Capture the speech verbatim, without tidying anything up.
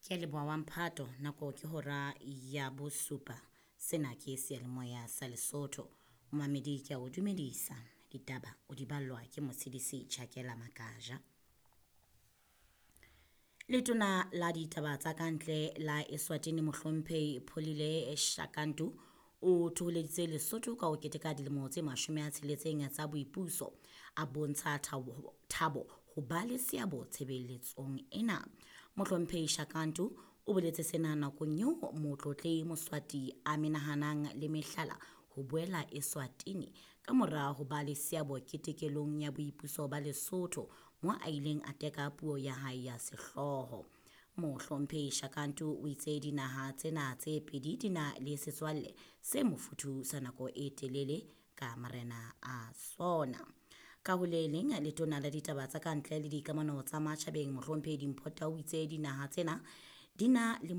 Ke a leboha wa mphato nako ke hora ya bosupa. Sena ke seyalemoya sa Lesotho. Momamedi ke a o dumedisa. Ditaba o di ballwa ke Motshidisi Chakela Makaja. Letona la ditaba tsa kantle la Eswatini Mohlomphehi Pholile Shakantu o thoholeditse Lesotho ka ho keteka dilemo tse mashome a tsheletseng tsa boipuso, a bontsha thabo, thabo ho ba le seabo tshebeletsong ena. Mohlomphehi Shakantu o boletse sena nakong eo Motlotlehi Moswati a menahanang le mehlala ho boela Eswatini ka mora ho ba le seabo ketekelong ya boipuso ba Lesotho mo a ileng a teka puo ya hae ya sehlooho. Mohlomphehi Shakantu o itse dinaha tsena tse pedi di na le setswalle se mofuthu sa nako e telele ka marena a sona. Ka ho le leng letona la ditaba tsa kantle le dikamano tsa matjhabeng Mohlomphehi Dimpho Tau o itse dinaha tsena di na le